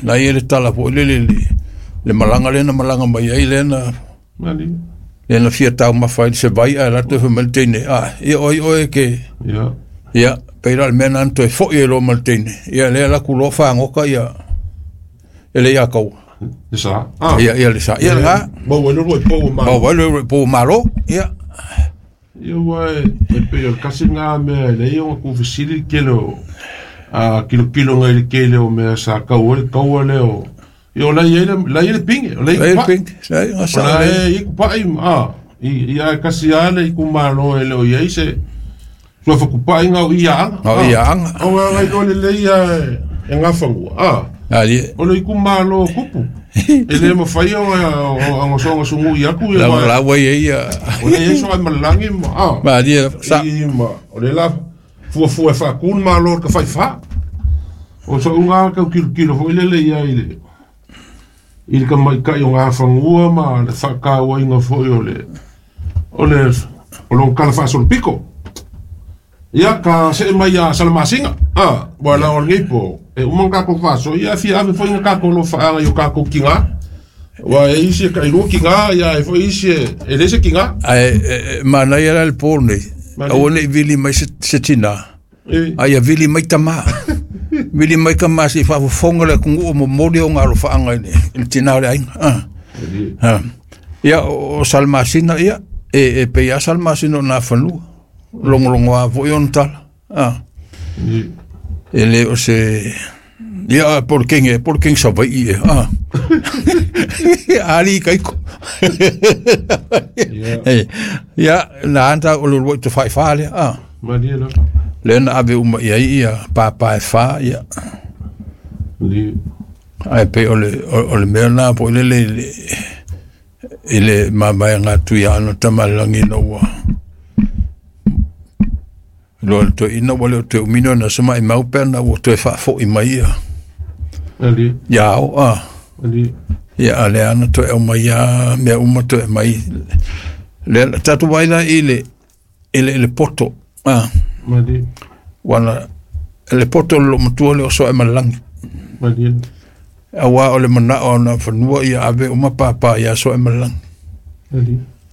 Na ia le tala foi lele le malaga lea na malaga mai ai lea na lea na fia taumafa ai se vai ae latou fai mai le teine, a ia oi oe ke ia pei la le mea na toe foi ai loa ma le teine, ia lea la ku loa fagoka ia e le ia kau. Le sa. Ia ia le sa. Ia la. Maua ai le uluai pou o Malo. Maua ai le uluai pou o Malo. Ia. Ia ua e pei o le kasi lena mea e leai ona tuufesili le tele o a kilokilo ngai le tele o mea sa tau ai le taua lea o ia o la e i ai le la e i ai le pine o la e i ai kupa'i o la e i ai kupa'i a ia e kasi lava le itumalo e le o i ai se suafa kupa'i na o i Aana o i Aana o a iloa lelei lava e Gafanua a o le itumalo o Kupu e le mafai ona soona sugui atu ia la ua i ai ia o lea e i ai Sooaemalelagi ma a malie sa i ma o lea la fuafua e faatu le Malo i le tafaifa o so'u lena tau tilotilo foi lele i ai i le tamaitai o Gafanua ma le faatauaina foi o le o le o lona tala faasolopito. Ia, ka see mai ia Salamasina. Ah, ua la o lenei po, e uma ona tatou faasoa, ia fia ave foi na tatou alofaaga i o tatou tiga. Ua e isi e tailua tiga, ia e foi isi e le se tiga. Ae manaia la le po nei, aua ne i vili mai se tina, a ia vili mai tama. Vili mai tama se i faafofoga le atunuu o momoli ona alofaaga i le tina o le aiga. Ah. Ia, o Salamasina, ia, e pei lava Salamasina o Nafanua. Logologoa foi ona tala. Ah. E le o se... Ia, po o le kenge, po o le kenge Savaii e. Ah. Ali kaiko. Ia, na anta o le uluai tafaifa lea. Ah. Malie lava. Lea na ave uma i ai ia pāpā e whā, ia. Ae pei o le, o le mea na po i lele i le, i le mavaega atu ia ana tama le lagi ina ua loa le toeaina ua le o toe umino na se maimau pe ana ua toe faafoi mai ia Ali. ia ao a Ali. ia a lea ana toe aumai ia mea uma toe aumai lea tatou vaai la i le i le, i le poto a Mali. wana le poto le loomatua lea o Sooaemalelagi Mali. Auā o le manao o Nafanua ia ave uma pāpā iā Sooaemalelagi.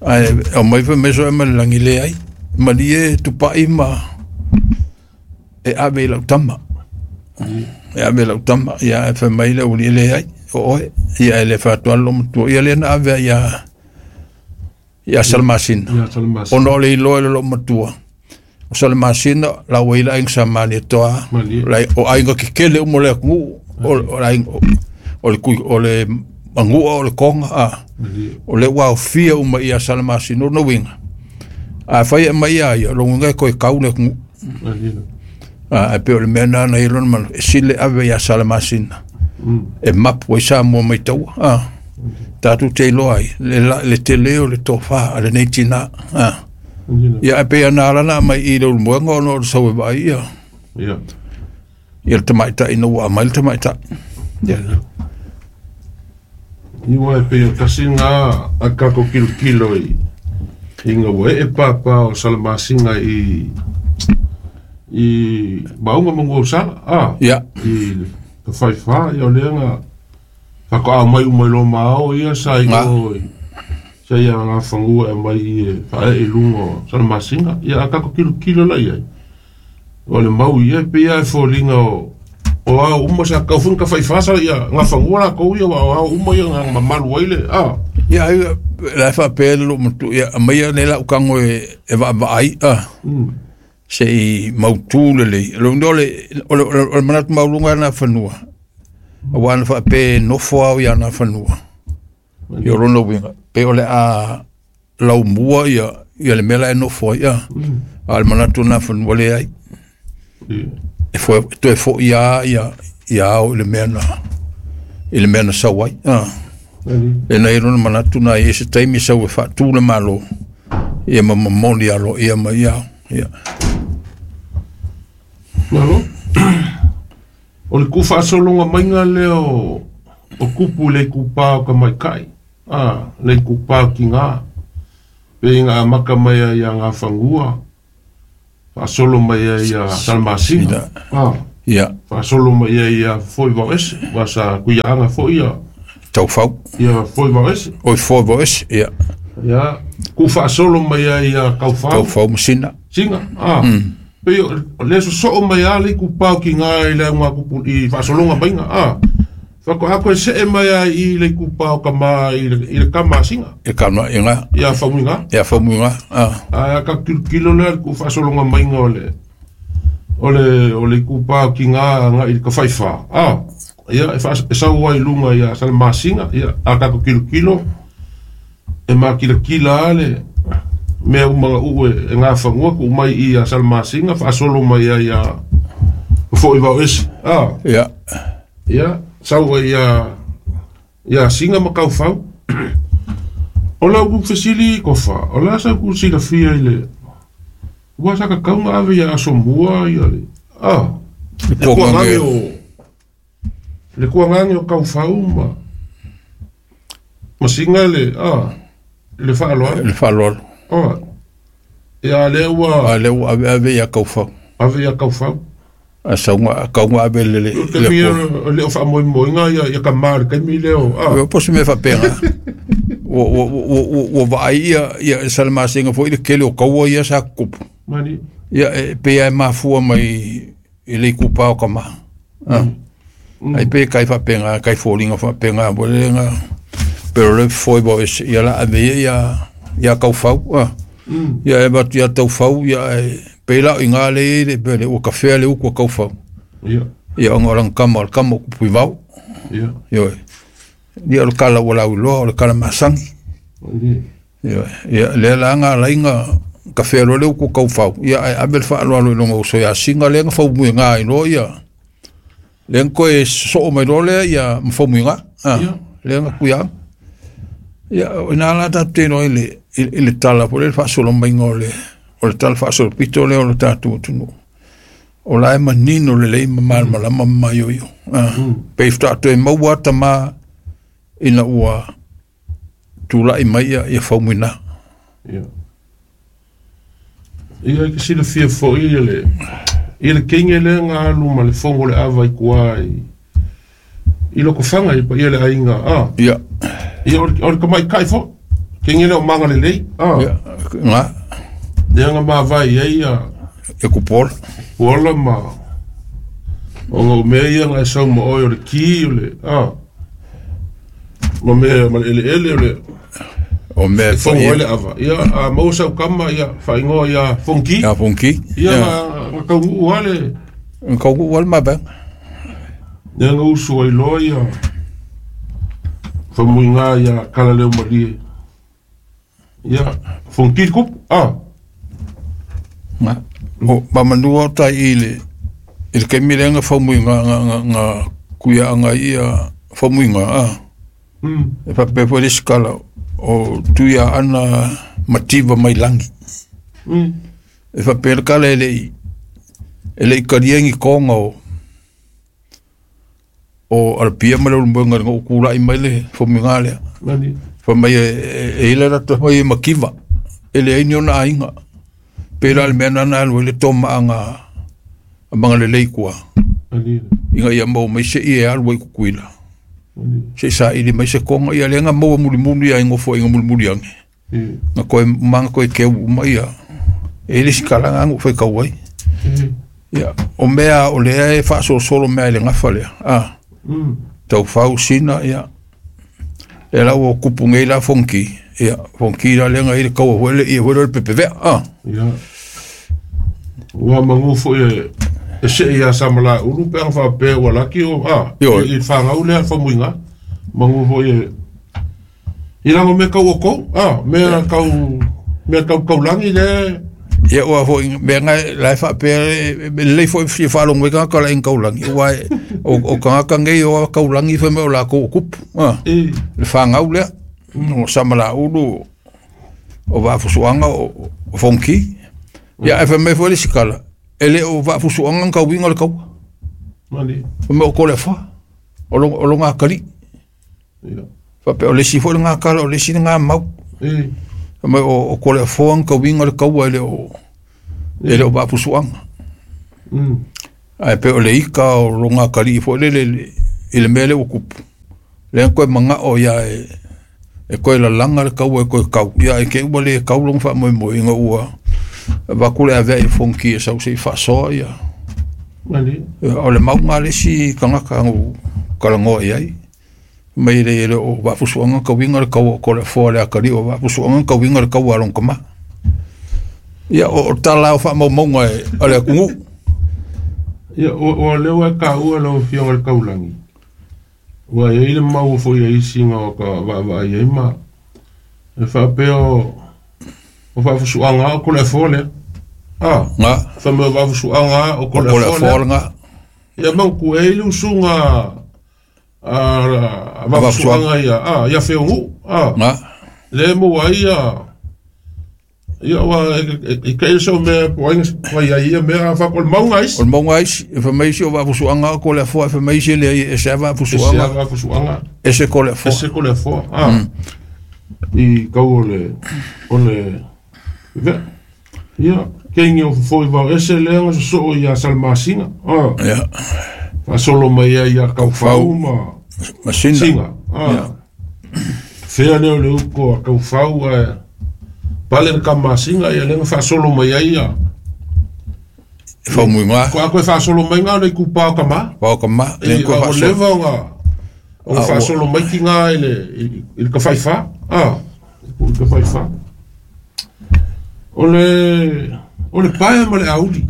Ae aumai fai mai Sooaemalelagi, leai, malie tupai ma e ave i lau tama. E ave i lau tama, ia ae fai mai le aualii, leai, o oe. Ia e le fai atu lava le loomatua, ia lea na ave ai ia ia Salamasina. Ona o le iloa e le loomatua, o Salamasina la ua i le aiga sa Malietoa, o aiga kekele uma o le atunuu, o le aiga o le kui o le Manua o le Koga, a o lea ua aofia uma ia Salamasina. O lona uiga, afai e aumai ia ia, o lona uiga e toe kau le atunuu. A, ae pei o le mea lena na i ai lona manatu, e sili ave ia Salamasina e mapu ai Samoa mai taua. A, tatou te iloa ai le, le tele o le tofa a lenei tina. A, ia ae pei ana ala na aumai i le Ulumoega ona o le sau e vaai ia. Ia. Ia le tamaitai ina ua aumai le tamaitai. Ia. Iwa e pei o tasi ngā a kako kilokilo i i ngā ua ee pāpā o Salamasina i i Maunga ma Nuuausala, a, Ia. i ka whaiwhā, ia o lea ngā whakaao mai uma i lo maao ia sa i o sa ia ngā whangua e mai i e whae i lunga o Salamasina, ia a kako kilokilo la iai. O le mau ia e pei lava e foliga o o ao uma sa tau foi ka faifā sa ia Gafanua latou ia aua o ao uma ia na mamalu ai le a. Ia ai la e faapea le loomatua ia aumaia nei lau tago e e vaavaai a se i mautu lelei. O le o le o le manatu maualuga lena fanua aua na faapea e nofo ao ia Nafanua. Ia o lona uiga pei o le a laumua ia ia le mea la e nofo ai a. A o le manatu o Nafanua leai. E foe, toe foi lava ia ia ao i le mea na i le mea na sau ai. A. Lea na i ai lona manatu na i ai se taimi e sau e faatu le Malo ia ma momoli aloaia mai ia ao. Ia. Malo. O le tuufaasologa maiga lea o o kupu i le itupa o tamaitai, a, le itupa o tiga, pei na amata mai ai ia Gafanua, faasolo mai ai ia Salamasina, a, Ia. Faasolo mai ai ia foi vao ese, ua sa kuiaaga foi ia taufau. Ia foi vao ese. Oi foi vao ese, ia. Ia, ku faasolo mai ai ia kaufau. Kaufau ma sina. Singa, a. Pei o le sosoo mai a le ikupa o kiga i le auga kupu i faasologa maiga, a. Faatoa koe see mai ai i le ikupa o kama i le kama a singa. E kama i ngā. Ia famuiga. Ia famuiga, a. A ka kilokilo lea le ku faasologa maiga o le o le ikupa o kiga agai i le tafaifā, a. Ia e sau ai i luga ia Salamasina, ia a tatou kilokilo e makilakila a le mea uma gauu e gafanua tuu mai i ia Salamasina faasolo mai ai ia fo'i vao ese, a. Ia. Ia sau ai ia Singa ma Kaufau. O lau ku fesili Kofa, o le a sau ku silafia i le ua sa kakauga ave ia Asomua ia le a le kuagage o le kuagage o Kaufau ma Singa le a le faaaloalo. Le faaaloalo. A ia lea ua a lea ua ave ave ia Kaufau. Ave ia Kaufau. A sauga kauga ave le le le o faamoemoega ia kama le taimi lea o a. O po o se mea faapena. Ua vaai ia Salamasina foi le tele o kaua ia sa tutupu. Mani. Ia e pei lava e mafua mai i le itupa o kama. Ai pe kai faapena, kai foliga faapena foi lele na pero le foi vao ese ia la ave ia ia Kaufau, a. Ia e avatu ia Taufau ia e pei la o iga lea e i ai le pele ua kafea le utu a Kaufau. Ia. Ia ona o lana kama o le kama o Kupuivao. Ia. Ioe. Ia o le kala ua lauiloa o le kala masani. Ioe. Ia lea la na ala ai na kafea loa le utu a Kaufau, ia ae ave le faaaloalo i lona uso ia Singa lea na faumuiga ai loa ia lea na toe sosoo mai loa lea ia ma faumuiga. A. Lea na tuiaga. Ia o ina la tatou te iloa i le tala foi lea le faasolo maiga o le tala faasolopito lea o le tatou atunuu. O la e manino lelei ma malamalama ma maioio. Pei faatoa toe maua tama ina ua tulai mai ia faumuina. Ia. Ia e silafia foi i le keinge lea na alu ma le fogo o le ava i tua i Lotofaga i le paia o le aiga, a. Ia. Ia o le tamaitai foi keinge lea o Magalelei, a. Ia, nga. Lea na mavae i ai ia e Kupuola. Kupuola ma ona o mea ia na e sau ma oe o le ki o le a. Ma mea ma le eleele o le o mea e fogo ai le ava. Ia a maua sau kama ia faaigoa ia Fonki. Ia Fonki. Ia na taunuu lava le na taunuu lava le mavaega. Lea na usu ai loa ia famuiga ia Kalaleomalie. Ia Fonki le kupu, a. Na o mamanua o tai i le taimi lea na faumuiga na kuiaaga ai ia faumuiga, a. E faapea foi le isi kala o Tuiaana mativa mai lagi. E faapea le kala e le i talia ni toga o Alapia ma le Ulumoega ina ua tulai mai le faumuiga lea. Fai mai e i ai le latou mai e mativa, e leai ni ona aiga. Pei la le mea lena na alu ai le tomaaga a Magalelei i tua. Ina ia maua mai se i e alu ai i Tutuila. Se i saili mai se toga, ia lea na maua mulimuli ai nofoaiga mulimuli ane. Na toe maga toe keu uma ia. E i ai le isi kalaga na ou faitau ai. Ia, o mea o lea e faasolosolo mea i le gafa lea. A. Taufau, Sina, ia. Lea la ua tupu nei la Fonki. Ia, Fonki la lea na i ai le taua foi le ia foi lea o le pepevea. A. Ia. Ua manu foi e see ia Samalaeulu pe ana faapea ua laki o a. Ioe. I le fanau lea famuiga. Manu foi e i lago mea tau o kou, a, mea tau mea tau taulagi lea. Ia ua foi mea na la e faapea e lelei foi fia faalogo ai tagata la i taulagi aua o tagata nei o taulagi fai mai o latou o tupu, a. Le fanau lea o Samalaeulu o Vaafusuaga o Fonki. Ia ae fai mai foi le isi tala, e le o Vaafusuaga na tauiga o le taua. Mani. Fai mai o Toleafoa, o lona atalii. Ia. Faapea o le isi foi lena tala, o le isi lena mau. Fai mai o Toleafoa na tauiga o le taua e le o Vaafusuaga. Ae pe o le ika o loga kali fo le le i le mele o kupu. Le ko manga o ia e koe la langa le kau e koe kau. Ia e ke ua le kau long fa moi moi inga ua. Vaku le avea i fonki e sau se i faasoa ia. Mali. O le mauga le si kangaka ngu kalangoa i ai. Mai le le o vaafusuaga kauiga le kaua o Koleafoa le akalii o vaafusuaga kauiga le kaua a lona tama. Ia o tala o faamaumauga e a le atunuu. Ia o lea ua e taua lau Afioga i le Taulagi, ua i ai le mau foi a isi na o ka vaavaai ai ma e faapea o faafusuaga o Koleafoa lea. Ah, ga fa mai o faafusuaga o o Koleafoa Koleafoa lea. lega. Ia mautu e i le usuga a vaafusuaga ia ia Feogu. Ah, Ga le maua ai ia ia ua e kai so mea po ai ngai ai ia mea fa ko le mauga O isi. le mauga isi e faamai isi o vaafusuaga o Koleafoa e faamai isi e leai e ese a E se vaafusuaga vaafusuaga ese Koleafoa. Ese Koleafoa. Ah. I kau o le ve. Ia keingi o fofo i vao ese lea nga sosoo ia Salamasinga. Ah. Ia Faasolo mai ai ia Kaufau ma masina. Singa. Ah. Ia. Fea lea o le uko a Kaufau ae pale le Kamasinga ia lea na faasolo mai ai ia. E faumuiga. Ko a koe faasolo mai ngā le kupa o kama. Pao kama le E koe a o faasolo. leva o ngā o A ua faasolo mai ki ngā i le kawhaiwha. Ah, i le kawhaiwha. O le paea ma le auli.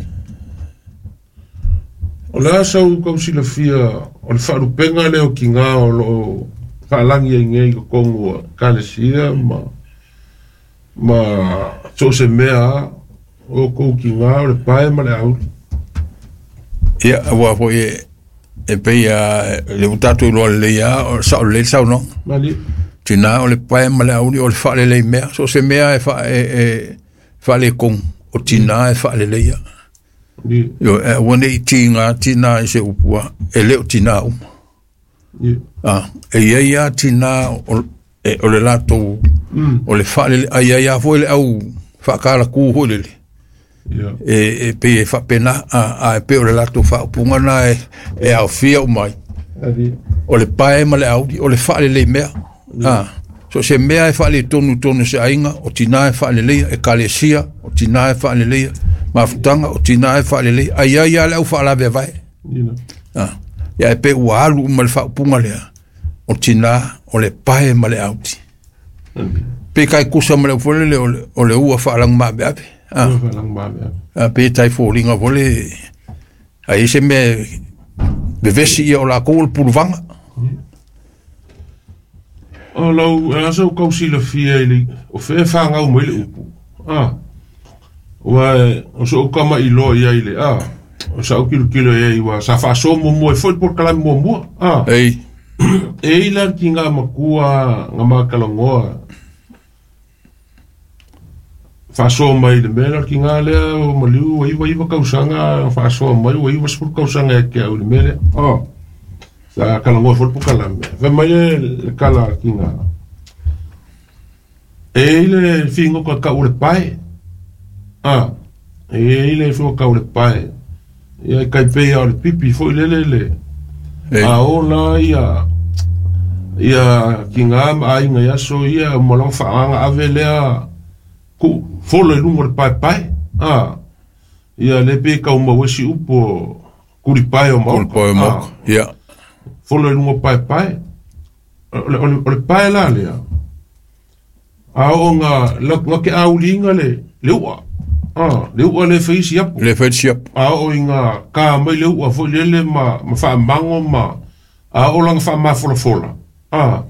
O le asa u kausilafia o le faalupega lea o kigā o loo faalagi ai nei i totonu o ekalesia ma so o se mea a o kou kigā o le pae ma le auli. Ia ua foi e pei a le ua tatou iloa lelei a o sao lelei le saunoaga. Mali. Tinā o le pae ma le auli o le faalelei mea. So se mea e faa e faaletonu o tinā e faaleleia. Ni Io e aua nei tiga tinā i se upua e le o tinā uma. ni A e iai a tinā o le latou o le faalele ai ai a foi le au faakalakū foi lele. Ia. E pei e faapena a e pei o le latou faaupuga na e aofia uma ai. Ali. O le pae ma le auli o le faalelei mea. A so se mea e faaletonu tonu se aiga o tinā e faaleleia ekalesia o tinā e faaleleia mafutaga o tinā e faaleleia ai ai a le au faalaveavae. Ina. A ia e pei ua alu uma le faaupuga lea o tinā o le pae ma le auli. Ali. Pe kai kusa ma le au foi lele o le ua faalagumaveave. A Ua faalagumaveave. a pe tai foliga foi le ai se mea vevesi ia o lakou o le puluvaga. O lau e asa o kausilafia i le o fea fagau mai le upu. Ah. Ua o so o kama i loa ia i le ah. O sa o kilokilo ia i ua sa faasoa muamua ai foi le polokalame muamua. Ah. Ei E i la ki ngā makua ngā makalagoa faasoa mai le mea lea o le kiga lea o maliu ua 99 tausaga faasoa mai ua 90 tausaga e ke au i le mea lea. Oh. Sa kalagoa foi le polokalame. Fai mai le kala a le kiga. E i le figoka kau o le pae. Ah. E i le figoka kau o le pae. Ia e kai pei o le pipi foi lele le. Ei A o la ia ia kiga ma aiga i aso ia ma lona faagaga ave lea ku folo i luga o le paepae. Ah. Ia le pe kau mau ai si upu o kulipae o o le maoka. pae o Ah. maoka. Ia Folo i luga o paepae. O le pae la lea. A oo nga nga ke auliga le ua. Ah, le ua le faisi apo. Le fai siapo. A oo i nga ka mai le ua foi lele ma faamago ma a oo laga faamafolafola. Ah.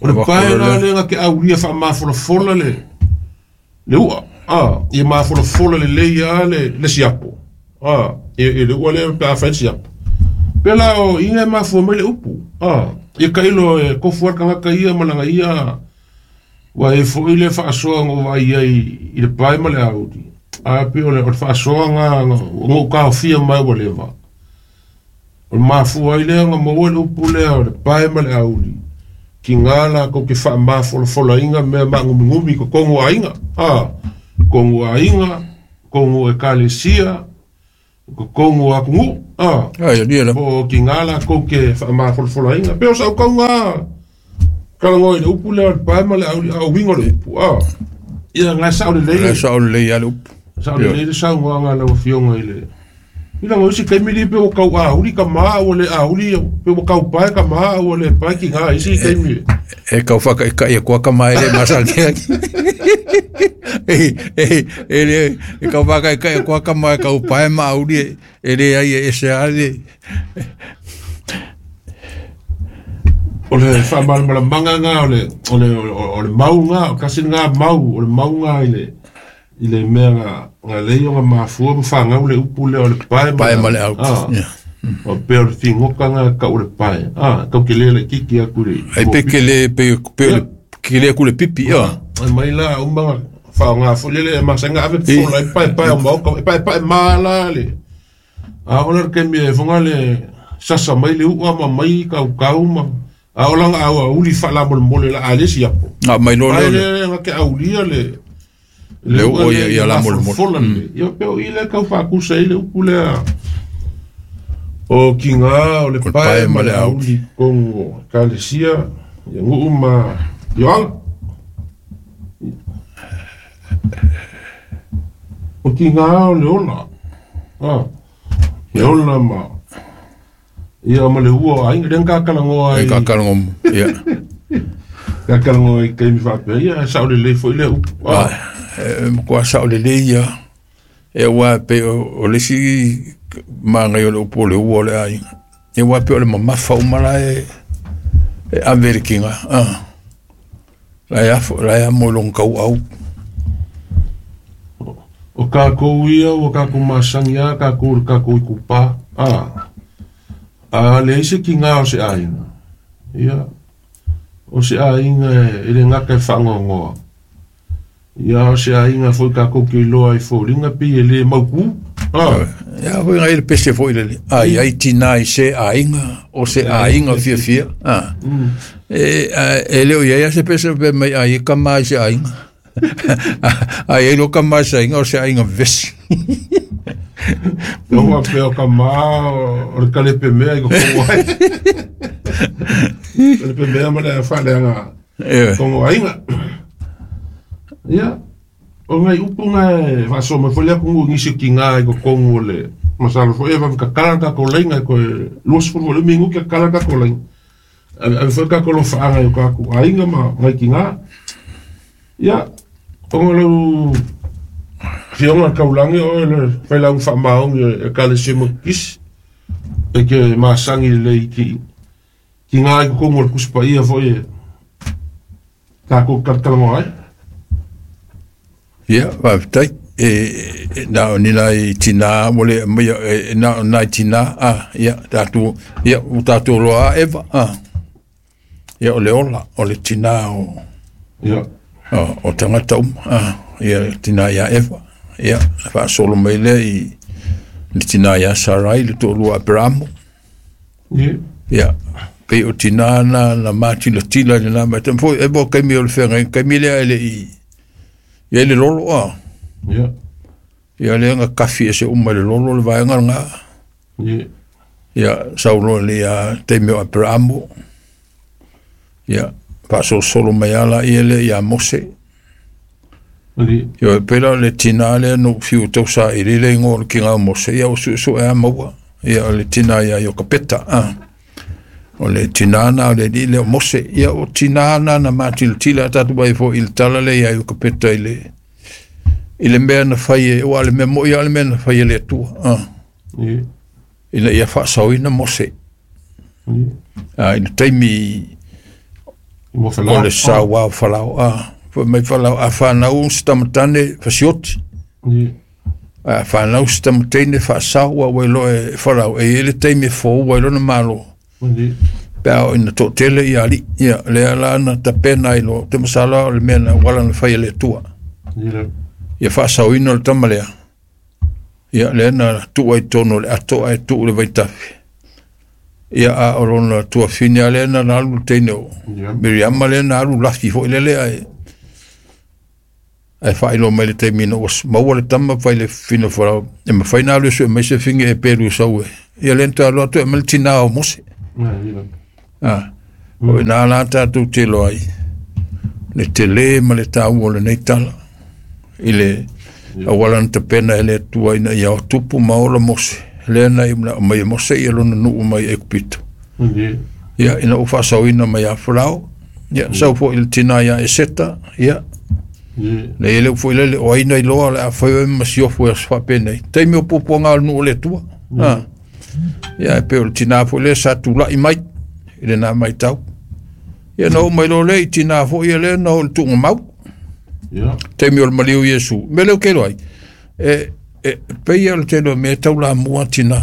O le Avako pae le la lea. lea nga ke aulia faamafolafola le ua. Ah, ia mafolafola lelei a le siapo. Ah, e le ua lea pe a fai le siapo. Pe la o inga e mafua mai le upu. Ah, ia kailo e kofu al kangaka ia ma langa ia ua e foi le faasoa ngo vai ai i le pae ma le auli. A pe o le faasoa nga ngo kaofia mai ua leva. O le mafua ai lea nga maua le upu lea o le pae ma le auli. Ki ngā la kou ke faamafolafolaina mea maagumigumi i totonu o aiga. Ah, kongu aiga, kongu ekalesia, Kokongu o atunuu a. Ai alia la. Po o tiga lakou ke faamafolafolaina pe o saukauga kalagoa i le upu lea o le pae ma le auli a o uiga o le upu a. Ia gae sao lelei le sao lelei a le upu. Sao lelei le saunoaga a lau Afioga i le i laga o isi taimi li pe ua tau auli tama a ua le auli pe ua tau pae tama a ua le pae tiga i isi taimi. E tau faakaikai atu a tama e le masani ai. E le e tau faakaikai atu a tama e tau pae ma auli e leai e ese lava le. O le faamalamalamaga lena o le o le o le mau lena, o tasi lena mau, o le mau lena i le i le mea na na lei ona mafua ma fanau le upu lea o le pae ma le auli. O pea o le figota lena e tau o le pae, a, tau tele laitiiti atu i le Ai pe kele pe pe kele atu le pipi, a. Ai mai la uma na faaaoga foi lele e masani ona ave fola ai paepae o maota, e paepae ma la le a oo la le taimi e foga le sasa mai le u'a ma mai kaukau ma a oo la ina auauli faalamolemole o le a le siapo. A mai loa lea. Ai lea na te aulia le le u'a ia lamolemole. Fola lelei. Ia pei o i lea e tau faakusa ai le upu lea o tiga o le pae ma le auli i totonu o Ekalesia i nuu ma afioaga. O tiga o le ola, a, le ola ma ia ma le ua o aiga, lea na tatalanoa ai. E tatalanoa, ia. Tatalanoa i taimi faapea, ia e sao lelei foi lea upu. A, e matua sao lelei ia. E aua pei o le isi manaia o le upu o le ua o le aiga. E aua pei o le mamafa uma la e ave i le tiga. A, la e afo, la e amo i lona tauau. O tatou ia ua tatou masani lava tatou i le tatou itupa, a, a leai se tiga o se aiga, ia, o se aiga e le gata e faanoanoa, ia, o se aiga foi tatou te iloa ai foliga pei e le mautu, a. Ia foi ngai le pese foi lele, a i ai tina i se aiga, o se aiga fiafia, a. E le o i ai a se pese pe mai a i tama i se aiga. A i ai loa tama i se aiga, o se aiga vevesi. Ua faapea o tama o le kalepe mea i totonu ai. Kalepe mea ma le faaleaga totonu o aiga. Ia, o nai upu na e faasoa mai foi le atunuu i nisi o tiga i totonu o le masalo foi e vave tatala le tatou laina e toe 20 foi le minute tatala le tatou laina. Ave foi tatou alofaaga i o tatou aiga ma nai tiga. Ia, ona o lau Afioga i le Taulagi o oe le failauga faamaoni o le Ekalesia Metotisi, e te masani lelei i tiga i totonu o le Tusi Paia foi e tatou talatalanoa ai. Ia, faafetai. E na o ni nai tinā ua le aumaia, e na o nai tinā, a, ia, tatou, ia, ua tatou loa a Eva, a. Ia, o le ola, o le tinā o, ia, o tagata uma, a, ia, le tinā ia Eva, ia, na faasolo mai lea i le tinā ia Sarai, le toalua o Aperamo. Ia. Ia, pei o tinā na, na matilatila i lena vaitaimi foi, e mo taimi o le feagaiga, taimi lea e le i i ai le lolo, a. Ia. Ia lea na kafi ese uma i le lolo le vaega lena. Ia. Ia, sau loa i le taimi o Aperamo, ia, faasolosolo mai lava laia lea ia Mose. Ia, pei la o le tinā lea na ou fiu e tausaili le igoa o le tiga o Mose, ia ua suesue lava maua. Ia, o le tinā ia Iokapeta, a. O le tinā lena o le alii lea o Mose. Ia, o tinā lena na matilatila a tatou vaai foi i le tala lea ia Iokapeta i le i le mea na fai e, aua o le mea moi lava o le mea na fai e le Atua, a. Ina ia faasaoina Mose. A, i le taimi o le sauā o Farao, a, fai mai Farao, a fanau se tamatane, fasioti. Ae a fanau se tamateine, faasao, aua ua iloa e Farao, e i ai le taimi e fou ai lona Malo. Pe a oo ina toatele ia alii, ia, lea la na tapena ai loa, ou te masalo lava o le mea na auala na fai e le Atua. Ia faasaoina le tama lea, ia, lea na tuu ai i totonu o le ato ae tuu i le vaitafe. Ia, a o lona tuafine lava lea na alu le teine o Miriama lea na alu lafi foi lele ae Ae faailoa mai le taimi ina ua maua le tama fai le fafine o Farao e mafai ona alu e sue mai se figi e pelu i sau e. Ia lea na toe alu atu e aumai le tinā o Mose. O i ina la tatou te iloa ai le tele ma le taua o lenei tala i le auala na tapena e le Atua ina ia tupu ma ola Mose, lea na aumai e Mose ia lona nuu mai Aikupito. Ia, ina ua faasaoina mai ia Farao, ia, sau foi le tinā ia Eseta, ia, le le foi lele o ai na iloa o le a fai oe ma siofo i aso faapenei. Taimi o puapuaga o le nuu o le Atua. Ia, e pei o le tinā foi lea sa tulai mai i lena maitau. Ia, na oo mai loa lea i tinā foi ia lea na oo i le tuugamau. Taimi o le maliu o Iesu. O le mea lea ou te iloa ai, e pei lava o le tele o mea e taulamua tinā.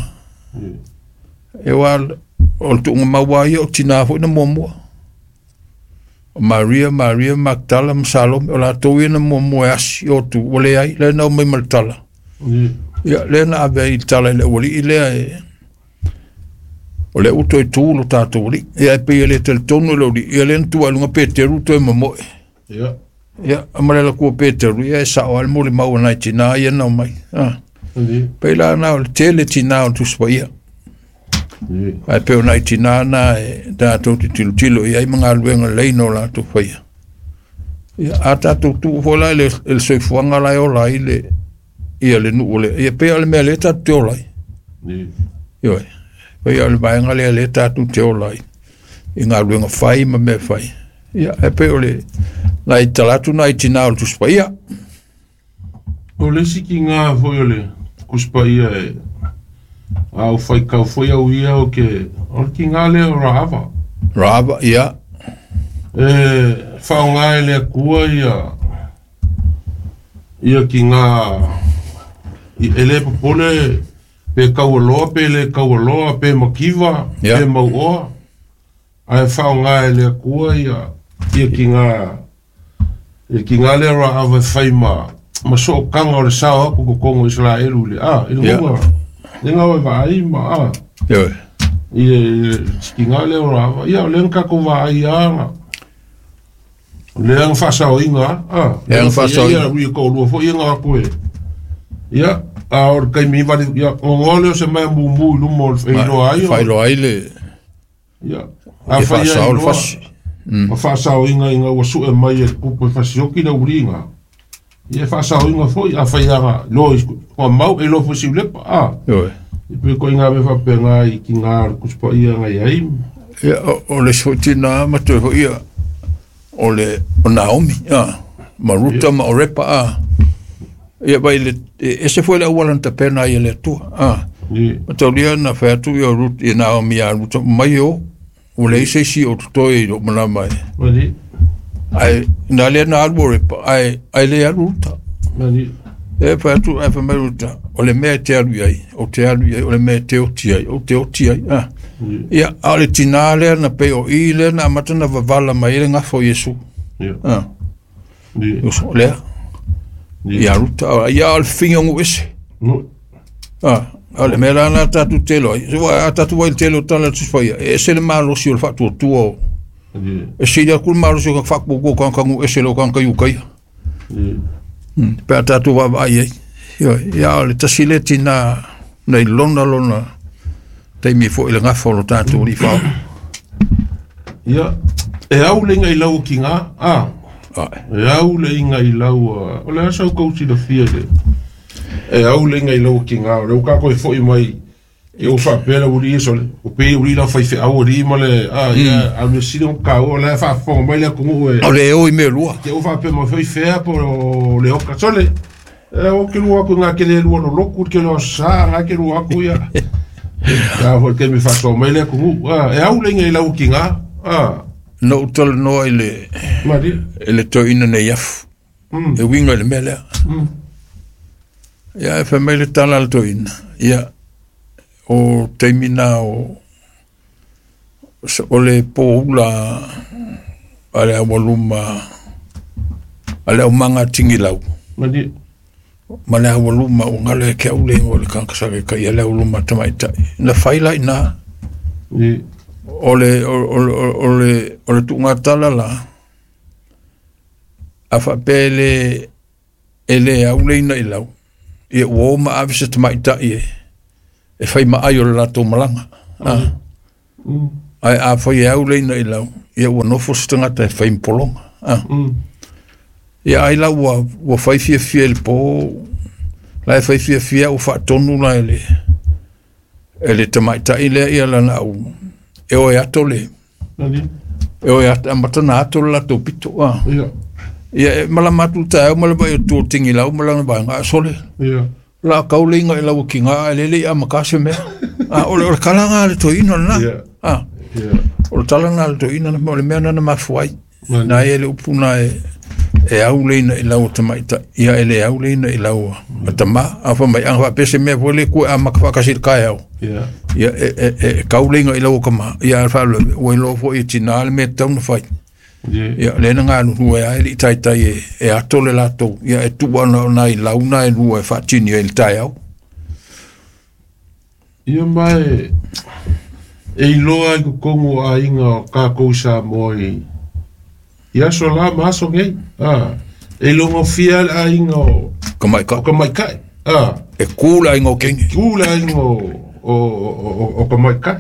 E aua o le tuugamau lava ia o tinā foi na muamua. O Maria, Maria Magdala ma Salome, o latou ia na muamua e asi o atu, ua leai, lea na omai ma le tala. Ia, lea na ave ai le tala i le aualii lea e, o lea ua toe tu lo tatou alii. Ia, e pei e le talitonu le aualii, ia lea na tua i luga Peteru toe momoe. Ia, ma le laku o Peteru, ia e sao lava le molimau a nai tinā ia na omai. Pei la na o le tele tinā o le Tusi Paia. Ae pei o nai tinā na e tatou te tilotilo i ai ma galuega lelei na o latou faia. Ia, a tatou tuu foi la i le soifuaga la e ola ai le, ia le nuu o le, ia pei o le mea lea tatou te ola ai. Ioe, pei o le vaega lea lea tatou te ola ai i galuega fai ma mea fai. Ia, e pei o le nai tala atu nai tinā o le Tusi Paia. O le isi kiga foi o le Tusi Paia e a ou faitau foi au ia o ke o le kiga lea o Rahava. Rahava, ia. E faaaoga e le Atua ia ia kiga e le popole pe taualoa pe le taualoa pe mativa pe mauoa ae faaaoga e le Atua ia ia kiga le kiga lea o Rahava e fai ma ma sootaga o le sao atu i totonu o Isaraelu i le a i le luga le gau e vaai ma a i le kiga lea o Rahava ia o lea na tatou vaai lava lea na faasaoina a lea na faasaoina ia toalua foi ia na o atu e ia a o le taimi vale ia gogoa lea o se mea mumu i luma o le failoa ai failoa ai le ia a e fai ai faasao le loa fasi. Ma faasaoina ina ua sue mai e le tupu e fasioki le uliga. Ia e faasaoina foi a fai aga loa i mau e loa foi siulepa a. Ioe. I pe ko inga me faapena i kiga o le Tusi Paia na i ai. Ia, o le isi foi tinā ma toe foi ia, o le o Naomi, a, ma Ruta ma Orepa, a. Ia vai le, e ese foi le auala na tapena ai e le Atua, a. Ma taulia na fai atu ia Rut, ia Naomi ia Ruta, mai o, ua leai se isi o totoe i lou malama e. Ae, na lea na alu o Orepa, ae, ae le alu Ruta. E fai atu, ae fai mai Ruta, o le mea e te alu i ai, ou te alu i ai, o le mea e te oti ai, ou te oti ai. Ah. Ia, a o le tinā lea na pei o i lea na amata na vavala mai ai le gafa o Iesu. Ah. O lea. Ia Ruta, ia o le fafine o nuu ese. Ah, o le mea la na tatou te iloa ai. So, a tatou vaai i le tele o tala a le Tusi Paia, e ese le malosi o le faatuatua o e sili atu le malosi o ka faatuatua o tagata nuu ese i lou tagata Iutaia. Pe a tatou vaavaai ai. Ioe, ia o le tasi lea tinā na i lona lona taimi foi i le gafa o lo tatou alii faaola. Ia, e au le iga i lau o kiga, a. E au le iga i lau, o le a sau kou silafia i le, e au le iga i lau o kiga, o lea ua tatou e foi mai, i ou faapea le aualii ia sole, o pei aualii la faifeau alii ma le, a, ia, a o le mea sili ona taua, o la e faafofoga mai le atunuu e. O le e o i mea e lua. Te ou faapea mai foi fea po o le oka sole. E o ke lua atu ngā ke le lua loloku, ke lua sa, ngā ke lua atu ia. Ia foi te me whasoa mai le atunuu. A, e au le iga i lau kiga, a. Na ou talanoa i le, i le toeaina nei afu, e uiga i le mea lea. Ia, e fai mai le tala a le toeaina, ia, o taimi na o, o le poula a le aualuma, a le aumaga a Tigilau. Ma le aualuma ua galo ia te au le igoa o le tagata sa taitaia le aualuma a tamaitai. Na fai la i ina. O le, o, o, o, o le, o le tuugatala la, a faapea e le, e le au le ina i lau, ia ua o ma ave se tamaitai e fai maai o le latou malaga. Ae afai e au le ina i lau, ia ua nofo se tagata e fai ma pologa. Ia ai la ua fai fiafia i le po, la e fai fiafia ua faatonu la e le tamaitai lea ia lana au, e oe ato le, e oe ato, amata na ato le latou pito. Ia e malama atu le taeao ma le vaai o tua o Tigilau ma lana vaega a sole. La kau le inga i lau kinga a lele i a makase mea. O le kala ngā le toina lena. O le tala ngā le toina na o le mea nana mafuai. Nā e le upu nā e au le ina i lau tamaita. Ia e le au le ina i lau tama. A fa mai anga wha pese mea fo le kue a maka whakasi le kai au. Ia e kau le inga i lau kama. Ia a wha le ua ilo fo i tina le mea tauna whai. Ia le na ngā nuhua e ai li taitai e ato le latou. Ia e tua na i launa e lua e whaatini e le tai au. Ia mai e iloa i kokongu a inga o kākou Samoa i aso la ma aso ngei. E longo fia le aiga o Kamaikai. O Kamaikai. E kū le aiga o Kenge. Kū le aiga o Kamaikai.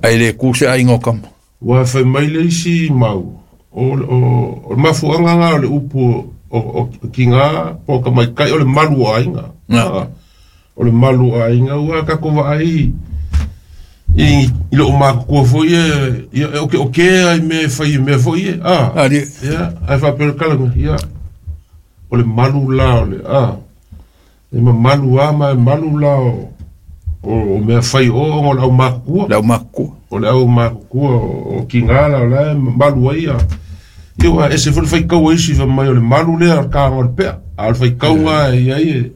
Ai le kū se aiga o Kama. Ua whai mai le isi mau. O le mafuanga ngā o le upu o ki ngā po o Kamaikai o le malu o aiga. O le malu o aiga ua kako vaai i lo makukua foi e o ke ai me whai me foi e. Ia, ai whapere kalanga, ia. O le malu la o le, E ma malu a ma e malu la o mea whai o le au makukua. Le au makukua. O le au makukua o ki ngā la o le malu ai a. Ia ua e se fole whai kau isi fa mai o le malu lea o le kānga o le pea. A o le whai kau ngā e ai e.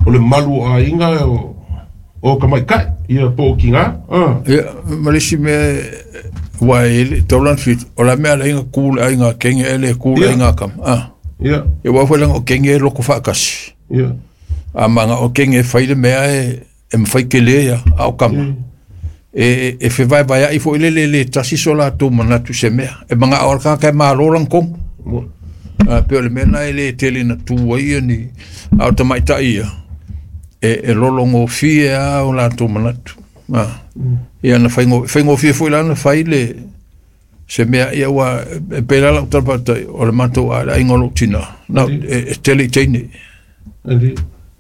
O le malu a inga o Kamaikai. Ia po o ki ngā. Ia, malisi mea ua e taulan fit. O la mea la inga kū le ainga kenge ele kū le ainga kama. Ia. Ia ua fai langa o kenge e loko whaakasi. Ia. A manga o kenge e whai le mea e mwhai ke le ia a o kama. E whewai vai ai fo ile le le tasi so la tō manatu se mea. E manga o ka kai mālolang kong. Pe o le mea na e le tele na tū ai ni a o tamaitai ia. E lolongo fie a o la tō manatu. Ia na whaingo fie fo ila na whai le se mea ia ua e pēlā lau talapata o le matou a le ainga o lou tina. Na e tele i teine.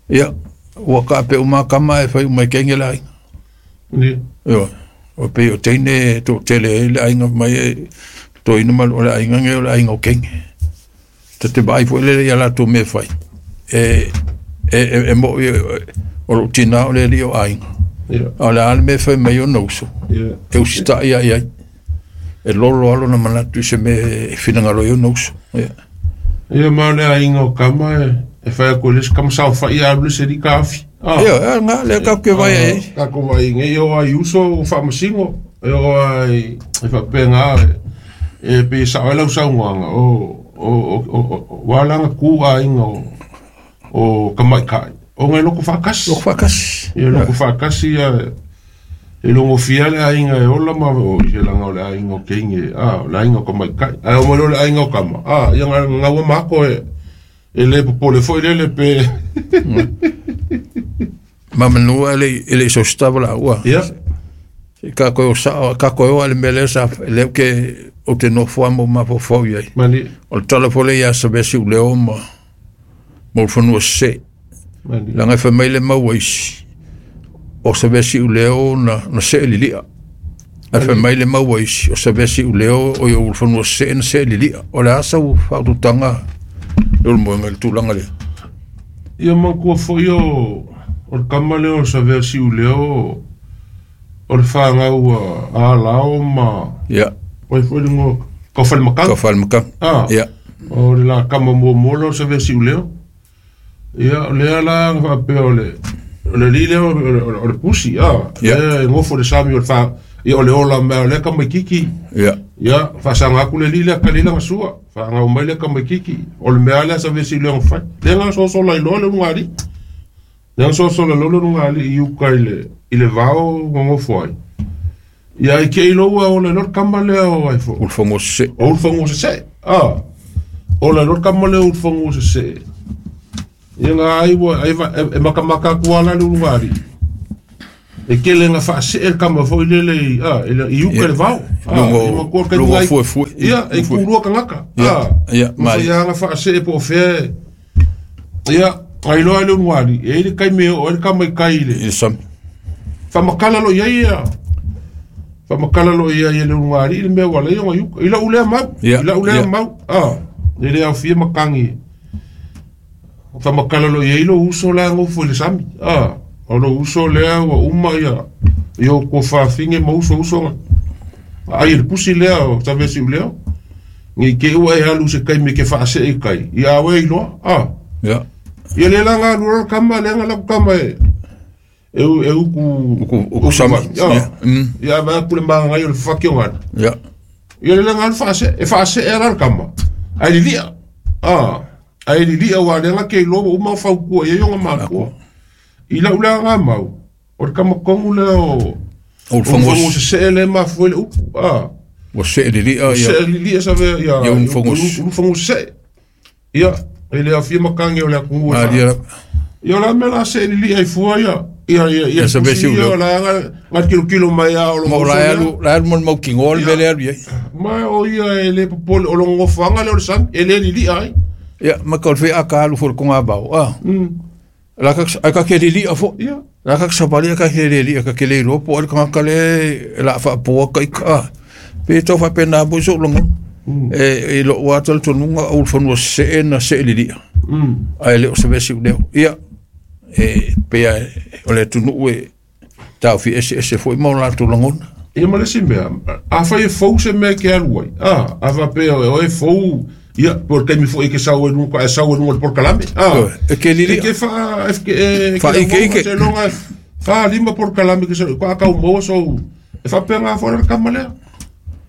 Ia, ua ka pe uma kama e whai umai kenge le ainga. Ia, o pe o teine tō tele e le ainga mai e tō inu malu o le ainga nge o le ainga o kenge. Te te vai fo le ia la tō mea whai. E mo o lou tina o le li o ainga. O le ale mea whai mai o nauso. E usita ia ia. E lolo alo na manatu i se mea e whinangalo i o nauso. Ia ma o le ainga o kama e whai ako le kama sao whai a alu se rika awhi. Ia, ngā lea kau ke vai e. Kako vai nge i o ai uso o whaamasingo. E o ai e whapea ngā e pe sao e lau saungoanga o walanga ku ainga o Kamaikai. O ngai loko whakasi. Loko whakasi. Ia loko whakasi ia e longo fia le ainga e ola ma o i se langa o le ainga o keinge, o le ainga o Kamaikai. Ai o mo le ainga o kama. Ia ngā mako e le popole foi lele pe. Mamanua e le iso stava la ua. Ia. Ka koe o sao, ka koe o ale mele sa le ke o te nofo mo mafofau iai. Mani. O le tala fole ia sa vesi u leo ma mo whanua se. Mani. Langa e whamai le maua isi. O sa vesi u leo na se e lilia. A whamai le maua isi. O sa vesi u leo o i o whanua se na se e lilia. O le asa u whaututanga le o moenga le tūlanga lea. Ia mankua foi o le kama leo o sa vesi u leo o le whangau a lao ma. Ia. O i foi lungo kau whalemakanga. Kau whalemakanga. Ia. O le la kama mua mua leo sa vesi u leo. Ia, o lea la whapea o le li leo o le pusi. Ia. E ngofo le sami o le wha. Ia o le ola mea o lea kama kiki. Ia. Ia, whasanga aku le li lea kalila nga sua. Whangau mai lea kama kiki. O le mea lea sa vesi leo ngawhai. Lea nga sosola i loa le lunga ali. Lea nga sosola loa le lunga ali i uka i le vao ngongofo ai. Ia, i ke i loa o le lor kama lea o ai fo. Ulfongo se. O ulfongo se se. O le lor kama lea ulfongo se se. Ia nga ai ua ai e makamaka atu lava la le ulugalii e tele ina faasee le tama foi lele i a i uka i le vao. Luga luga fuefue. Ia e tulua tagata. Ia mafai lava ona faasee po o fea ia ailoa le ulugalii e i ai le taimi e oo ai le tama i tai i le sami. Faamatala loa i ai ia faamatala loa i ai e le ulugalii le mea ua ala ai ona i uka. I lau lea mau, i lau lea mau, e le aofia matagi. Faamatala loa i ai lou uso la e nofo i le sami, o lou uso lea ua uma ia i ou tuafafine ma uso uso na aai e le pusi lea o Saveasiuleo. Ne i te i ua e alu i se taimi e te faasee i tai, ia a oe iloa, Ia lea la na alu loa le tama lea na alu atu tama e e utu utu sami. Ia vaai atu le manaia o le fafati o galu. Ia. Ia lea na alu faasee, e faasee lava le tama, ae lilia. Ae lilia aua o lea na te iloa ua uma ona fautua i ai ona matua. I lau lea na mau, o le tama tonu lea o Ulufanua Sesee lea e mafua ai le upu. Ua see lilia ia. See lilia save ia Ulufanua Sesee. Ia, e le aofia matagi o le atunuu e faa. Ia o le a mea o le a see lilia ai fua ia ia ia ia pusi ia o la na tilotilo mai a o lo la alu la alu mo le mautinoa le mea lea alu i ai. Ma o ia e le popole o lona nofoaga lea o le sami e le lilia ai. Ia ma ka o le feaka alu foi i le togavao a. La ka ai ka ke lilia foi. Ia. La ka savali ka ke lilia ka ke le iloa po o ai le tagata lea e la faapoa ka ika a. Pe tau faapena foi so'u lagona. E i lo'u lava talitonuga o ulufanua sesee na see lilia. Ae le o se mea siuleo. Ia, e pei lava o le atunuu e taofi eseese foi ma o latou lagona. Ia ma le isi mea, afai e fou se mea e te alu ai, a, a faapea o oe e fou, ia, po o le taimi foi e te sau ai i luga, e sau ai i luga o le polokalame, a, E te e te faa, e te, e Faaikeike. seiloga e fa, lima polokalame e te sau, faatoa tau maua sou, e faapena foi la le tama lea.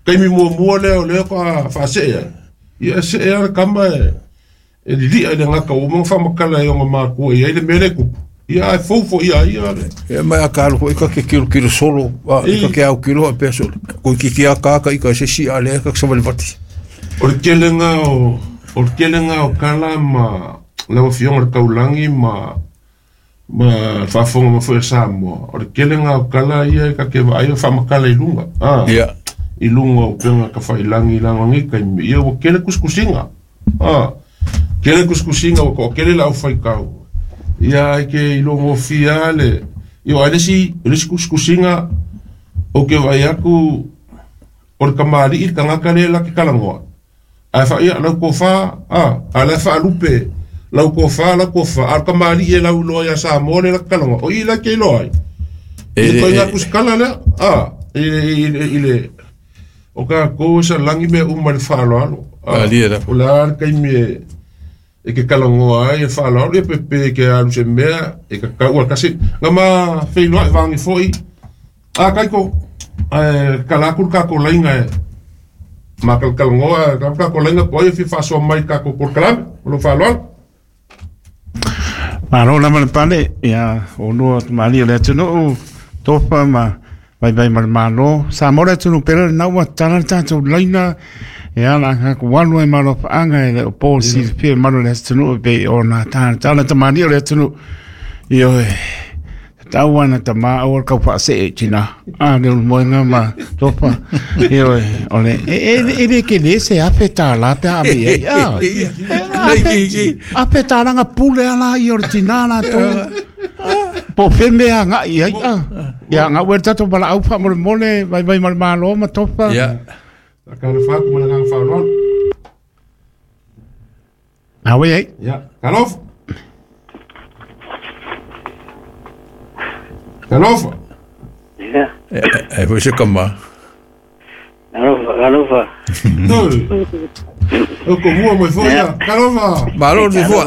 Taimi muamua lea o lea faatoa faasee ai, ia e see lava le tama e, e lilia i le gata ua uma ona faamatala e ona matua i ai le mea lea e tupu, ia ae fou foi ia ia le. Ia ma a ka alu foi ka ke kilokilo solo, a ka ke autilo faapea solo. Toeitiiti lava ta ita i se isi a lea ka savalivati. O le telega o, o le telega o tala ma lau Afioga i le Taulagi ma ma le faafofoga mai foi a Samoa, o le telega o tala ia e ta te vaai o faamatala i luga, a, Ia. i luga o upega tafailangi i lalo nei taimi, ia ua tele tusitusiga. A, tele tusitusiga ua toatele le aufaitau. Ia ai ke iloa gofie lava le, ia aua le isi, o le isi tusitusiga ou te vaai atu o le tamalii le tagata lea la te talanoa, ae faa, ia lau tofa, a, a o la e faalupe lau tofa, lau tofa, a o le tamalii e lauiloa ia Samoa lea la te talanoa, o i la e te iloa ai. I le ituaiga tusitala lea, a, i le, O tatou e salagi mea uma i le faaaloalo. Malie lava. O le a le taimi e e ke talanoa ai e faaaloalo, ia pe pe ke alu se mea e tatau a tasi. Na ma feiloai vaagi foi. A Kaiko, ae kala atu le tatou laina e mataltalanoa le tatou laina po o ai e fia faasoa mai i le tatou polokalame. Ma lou faaaloalo. Malo lava le pale, ia olua tamalii o le atunuu, tofa ma vaivai ma le Malo. Samoa le atunuu pele lena ua tatala le tatou laina, ia la tatou alu ai ma alofaaga e le o po silafia e malu o le atunuu e pei ona talatala tamalii o le atunuu. Ioe, tatau lava na tama aua le tau faasee i tina. A le ulumoega ma tofa. Ioe, o le, e le tele se $1,000 pe a ave i ai. A, $1,000 na pule ala ia o le tina latou. Po o fea mea agai i ai. A, ia, gau e le tatou valaau faamolemole, vaivai ma le Malo ma tofa. Ia. Talofa atu ma le agaga faaaloalo. A oi ai. Ia, talofa. Talofa. Ia. E foi se tama. Alofa, alofa. Oi. O ko mua mai foi ia. Talofa. Malo le fua.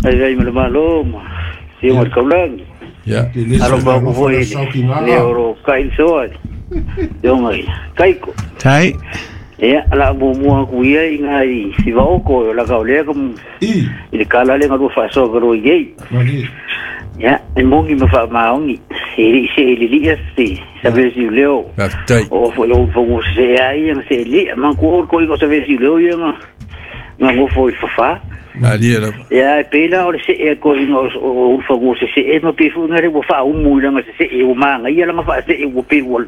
Ai ai ma le malo ma si o kaulagi. Ia. Alofa ko foi le oro kai soa. Yo mai. Kaiko. Tai. Ia, la muamua aku ia i ngā i si vaoko, la ka olea ka I. i le kala le ngalua faasoa ka roi ei. Malie. Ia, e mongi ma faamaongi, e lei se e lilia se, sa vesi leo. Faafetai. O fo lo fo se ai nga se lia, man ku o ko i ko sa vesi leo ia nga nga ngofo i fafa. Malie lava. Ia e pei la o le se'e a toeaiina o ulufanua sese'e ma pei fo'i gale ua fa'aumu i laga sese'e ua magaia laga fa'ase'e ua pei ua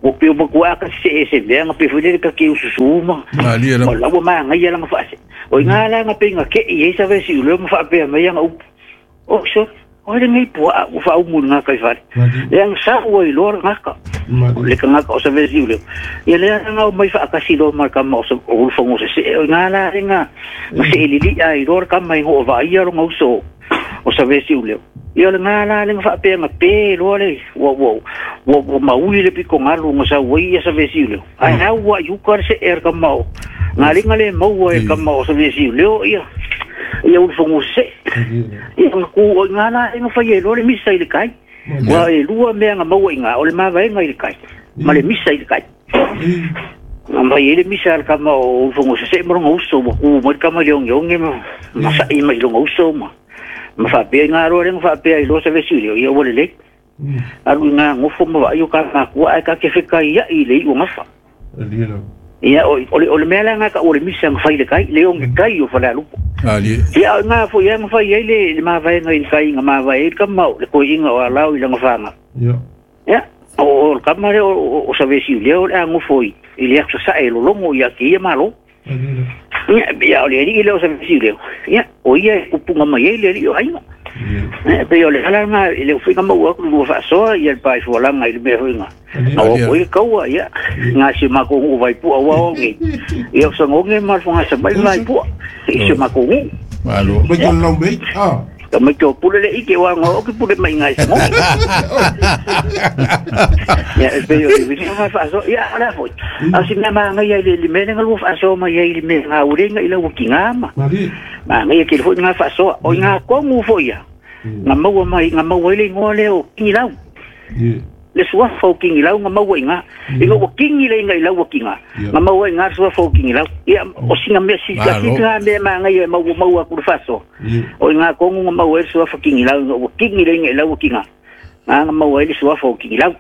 ua pei ua matuā ka sese'e se mea ga pei foi lele ta te ususū ma Malie ma lava. la ua magaia laga fa'ase'e o igā la ga pei ga ke'i ai savesiuleo ma fa'apea mai aga upu o so o lenei pua'a ua fa'aumu i le gaka i fale lea ga sau ai loa le gaka le tagata o savesiuleo ia lea laga o mai fa'atasi loa ma le kama o ulufago sese'e o igā la lega ma se'elili'a ai loa le kama i go'o va'aia loga uso o savesiuleo ia o legā la lega fa'apea ga pē loa le ua ua ua ua maui le pitogalu ga sau ai ia savesiuleo ae au a'i uka le se'e a le kama o galiga le maua e kama o savesiuleo ia ia ulufago sese'e ia ga ku o igā la lega fai ai loa le misa i le kai ua e lua mea ga maua igā o le mavaega i le kai ma le misa i le kai ga mai ai le misa a le kama o ulufago sese'e ma loga uso ua ku mai le kama i le ogeoge ma ma sa'i mai i loga uso ma ma fa'apea igā loa lega fa'apea ai loa savesiuleo ia ua lelei alu igā gofo ma va'ai o ka makua ae ka kefekaia'i i le i'u gafa ia o le mea laga ka o le misa ga fai le kai le oge kai o falealupo Malie. ia o igā fo'i aga fai ai le mavaega i le kai ga mavae ai le kama o le koe'iga o alao i laga faga ia o le kama lea o savesiuleo o le agofo i le aso sa'e lologo ia te ia malo ia ia o le ali'i lea o savesiuleo ia o ia e kupuga mai ai le ali'i o aiga pei o le ala lena i le ufiga maua aku lua fa'asoa ia le paefualaga i le mea fo'iga na o ko i le kaua ia ga si makou gu'u vaipu'a ua oge ia o sagoge ma le fogasa mai vaipu'a i si makou gu'u Malo. ka mai ke o pule le ike ua ga o ke pule mai ga i sagoge ia e pei o le ufiga ma fa'asoa ia o le a fo'i a o si mea magaia i le le mea lega lua fa'asoa mai ai i le mea gaulega i lau kigā ma magaia kele fo'i ga fa'asoa o i gā kogu fo'i ia ga maua mai ga maua ai le igoa lea o kigilau le suafa o kigilau ga maua i gā ina ua kigi le iga i lau ua kigā ga maua i gā le suafa o kigilau ia o sina mea silakiti gā mea magaia e maua maua aku le fa'asoa o i gā kogu ga maua ai le suafa kigilau ina ua kigi le iga i lau ua kigā gā ga maua ai le suafa o kigilau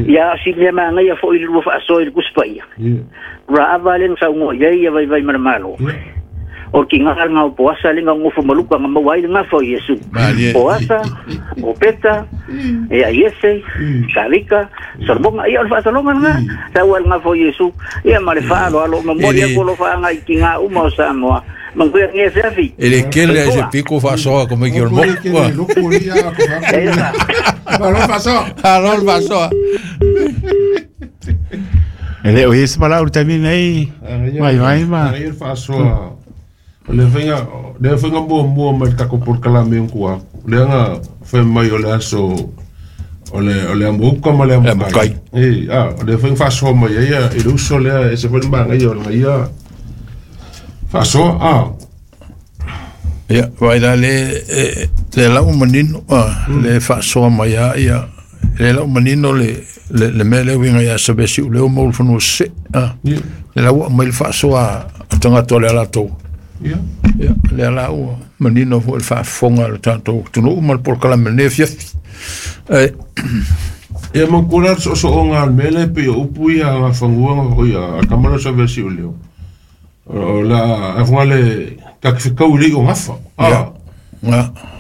ia o si mea magaia fo'i le lua fa'asoa i le kusipaia ua ava le ga saugoa i ai ia vaivai ma le mālō o ki ngā ngā o poasa le ngā ngofu maluka ngā maua ai le ngā fo Iesu. Poasa, o Peta, e a Iese, Kalika, Solomon, ia o le whaasalonga ngā, sa ua le ngā fo Iesu, ia ma le whaalo alo, ma mori ako lo whaanga i ki ngā uma o Samoa. Manguia nge se afi. E le kele ai se piko fa'asoa ko mai ki o le moku. Alo le fa'asoa. E le o ese palau le taimi nei vai vai ma. O le faiga le faiga muamua mai le tatou polokalame kua lea ga fai mai o le aso o le amoka ma le amokai e a o le faiga fa'asoa mai ai ia i le uso lea e se foi le magaia o lega ia fa'asoa a ia vai la le le lau manino le fa'asoa mai a ia le lau manino le le mea lea uiga ia savesiuleo ma ulufanua sese'e le lau mai le fa'asoa a tagata o le alatou ia lea la ua manino fo'i le fa'afofoga le tatou tunu'u ma le polokalame lenei afiafi e ia mankula le so'oso'oga a le mea lea pei o upu ia gafaguaga fo'i a kama lea o savesiuleo o la afoga le takifekau i le i'o gafa a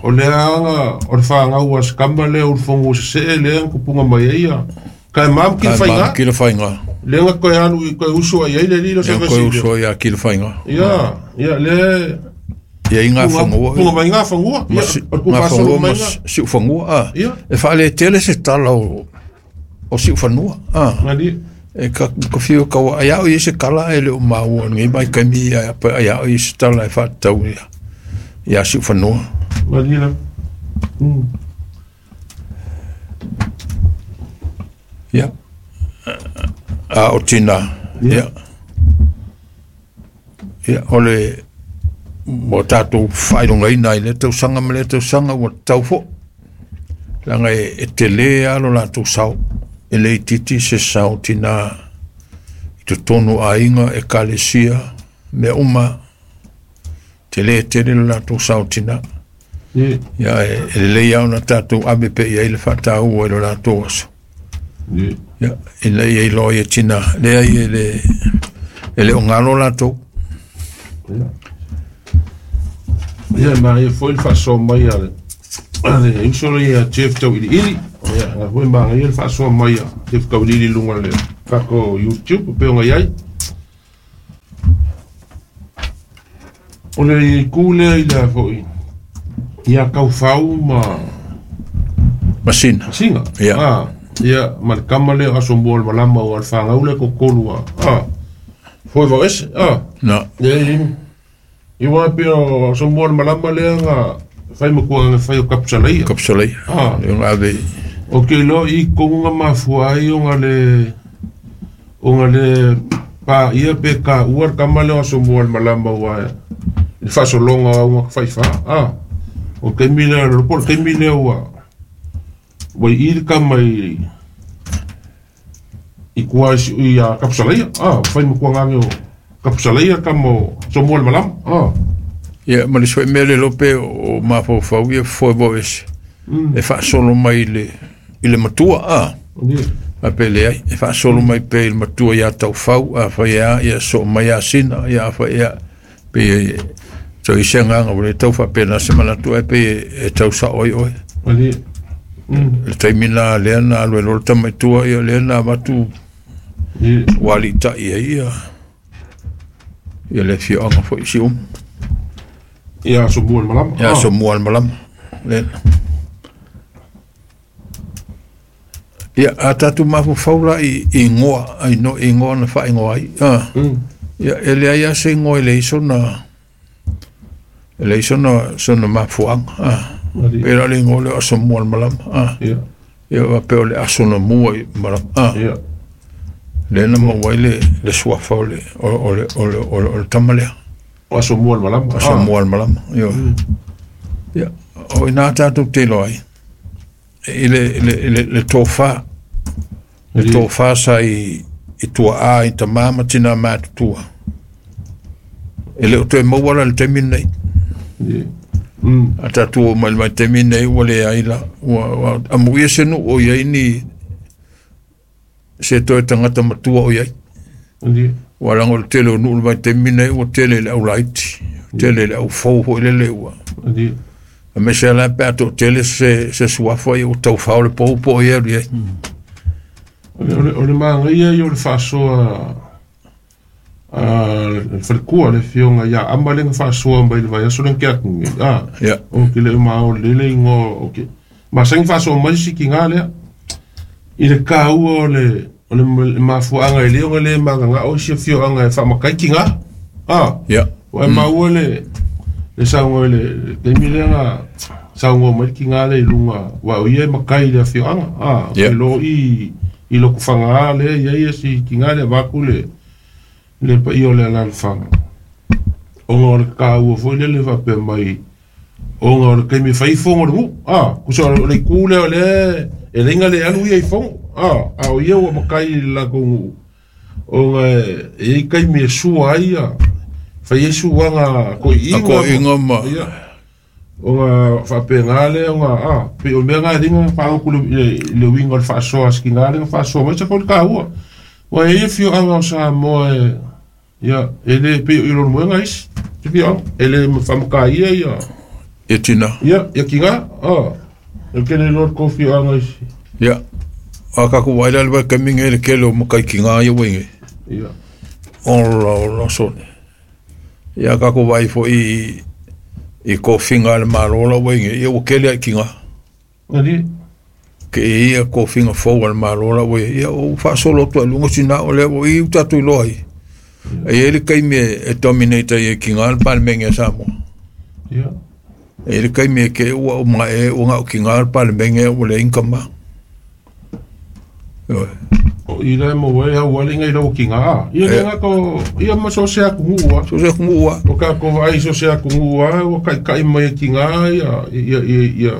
o lea aga o le fagau a se kama lea ulufogu sese'e lea kupuga mai ai ia kae mamu ki le faiga ki le faiga lea ga koe alu i koe uso ai ai le lilo koe uso ai ki le faiga ia ia le ia i ngā whangua punga mai ngā whangua ia ngā whangua ma siu whangua a e whaale tele se tala o siu whanua a e ka whio kaua ai au i se kala e le o maua ngai mai kaimi ai au i se tala e whaatau ia siu whanua Manila ia a o tina ia ia o le mo tātou whailongaina i le tausaga ma le tausaga ua tau fo'i laga e telē alo latou sao e le itiiti se sao tinā i totonu aiga ekalesia mea uma telē tele lo latou sao tinā ia e lelei a ona tatou ave pea i ai le fa'atāua i lo latou aso ia ina ia iloa ia tinā leai e le o galo latou. Ia ma ia foi le faasoa mai a le uso le ia Jeff Tauiliili. Ia na foi ma ia le faasoa mai a Jeff Tauiliili i luga o le tatou YouTube pe ona i ai. O le itu lea i le foi ia Taufau ma Masina. Masina. Ia. Ah, ia ma le kama lea o Asomua o le malama o le fanau lea totolu a. Ah. Foi vau ese. Ah. Na. Ia i wa pe o Asomua o le malama lea nga fai makuanga nga fai o Kapusalaia. Kapusalaia. Ah. Le nga ave. O ke lo i konga mafua ai o nga le pa ia pe ka ua le kama lea o Asomua o le malama ua le faasolonga o nga fai fa. Ah. O ke mi lea lo pol ke mi lea ua ua i le kama i kua i a Kapusalaia. Ah, fai makuanga o Kapusalaia kama o Asomua o le malama. Ah. Ia ma le sue mea le lope o mafaufau ia foe vau ese. E faasolo mai i le matua a. A pe leai e faasolo mai pea i le matua ia Taufau a fai a ia soo mai Asina ia a fai a pe tau i se agaga ua le tau faapena se manatu ai pe e tau sao ai oe. Le taimi na lea na alu ai loa le tamaitua ia lea na avatu ua aliitai ai ia ia le afioaga foi i Siumu. Ia Asomua o le malama. Ia Asomua o le malama lea. Ia a tatou mafaufau la i igoa ai no igoa na faaigoa ai. Ah. Ia e leai lava se igoa e leai sona sona mafuaaga. Ah. Pe la le igoa lea o Asomua o le malama. Ah. Ia faapea o le aso na mua i malama. Ah. Lea na maua ai le suafa o le tama lea. O Asomua o le malama. Asomua o le malama. Ia o ina tatou te iloa ai i le tofa. Le tofa sa i tuaa i tamā ma tinā matutua. E le o toe maua la le taimi lenei. A tatou o mai le vaitaimi lenei ua leai la. Ua amuia se nuu o iai ni se toe tagata matua o iai. Ua laga o le tele o nuu le vaitaimi lenei ua tele i le aulaiti. Tele i le aufou foi lele ua. A me se la pe a toatele se suafa ia ua taufao le pou po o ia alu i ai. O le magaia ia o le faasoa a le falekua le afioga ia Ama lea na faasoa mai le vaiaso lea na ke atu nei. Ah. O ke le ma o le igoa o ke masani faasoa mai se sikiga lea i le kaua o le mafuaaga e le ona le magagao isi afioaga e faamakai kiga. Ah. Ua e maua le sauga i le taimi lea na sauga mai le kiga lea i luga ua o ia e makai i le afioaga. Ah. E lo i lokofaga lea ia ia si kiga lea vaku le paia o le alalafaga. Ona o le kaua foi lea le faapea mai ona o le taimi e fai fogo o le nuu. Ah. Kusa o le itu lea o lea e leiga le alu ia i fogo. Ah. A o ia ua makai i le latou nuu. Ona e iai taimi e sua ai ia fai ai suaga koiiga ma ia ona faapena lea ona a pe o mea ga linga faaloku le uiga o le faasoa a sikiga lea na faasoa mai sa foi le kaua. Ua e ia afioaga o Samoa e ia e le pei o i lona moega isi se fioaga e le faamakaia ia ia tina ia kiga a e ke le iloa le kou fioaga isi. Ia a kakou vaai la le vaitaimi le kele o makai kiga ia ua ige. Ia ola ola sone. Ia kakou vaai foi i kofiga a le Malo la ua ige ia ua kele ai kiga. Ali ke ia kofiga fou a le Malo la ua ia o faasolo atu ai luga sina o lea ua i tatou iloa ai. E iai le taimi e dominate ai e kiga le Palemene a Samoa. Ia. E iai le taimi e ke ua o mae ua gao kiga le Palemene ua leai ni kama. O i le mo e au ale ngai lau kinga a. Ia le nga ko ia ma so se aku ngua. So se aku ngua. O ka ko vai so se aku ngua o kai kai mai kinga ia ia ia